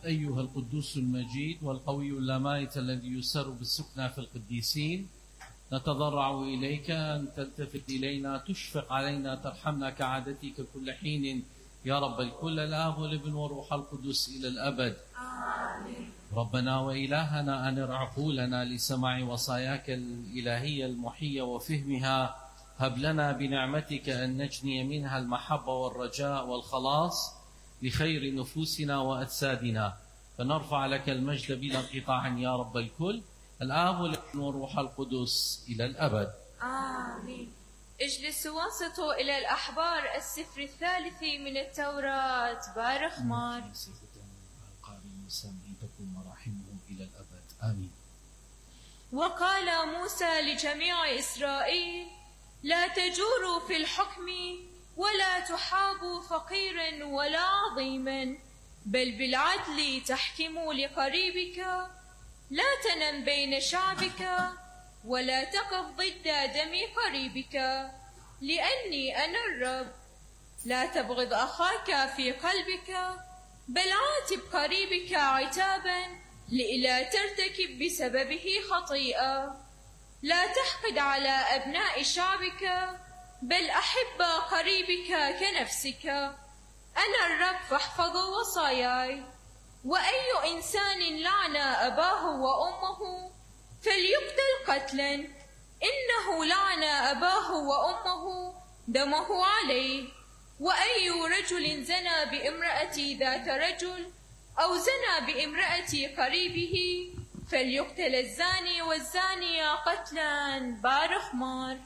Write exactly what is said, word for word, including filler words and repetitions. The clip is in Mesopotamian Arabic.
أيها القدوس المجيد والقوي اللامائت الذي يسر بالسكنى في القديسين، نتضرع إليك أن تلتفت إلينا، تشفق علينا، ترحمنا كعادتك كل حين يا رب الكل، الآب والابن والروح القدس إلى الأبد. آمين. ربنا وإلهنا أنر عقولنا لسماع وصاياك الإلهية المحية وفهمها، هب لنا بنعمتك أن نجني منها المحبة والرجاء والخلاص لخير نفوسنا وأجسادنا، فنرفع لك المجد بلا انقطاع يا رب الكل، الآب والابن والروح القدس إلى الأبد. آمين. اجلسوا وانصتوا إلى الأحبار السفر الثالث من التوراة. بارخ مار. تكون مراحمه إلى الأبد. آمين. وقال موسى لجميع إسرائيل: لا تجوروا في الحكم، ولا تحابوا فقيرا ولا عظيما، بل بالعدل تحكموا لقريبك، لا تنم بين شعبك، ولا تقف ضد دم قريبك، لأني أنا الرب. لا تبغض أخاك في قلبك، بل عاتب قريبك عتابا، لئلا ترتكب بسببه خطيئة. لا تحقد على أبناء شعبك، بل أحب قريبك كنفسك. أنا الرب فاحفظوا وصاياي. وأي إنسان لعن أباه وأمه فليقتل قتلا، إنه لعن أباه وأمه دمه عليه. وأي رجل زنى بامرأة ذات رجل أو زنى بامرأة قريبه فليقتل الزاني والزانية قتلا. بارخ مار.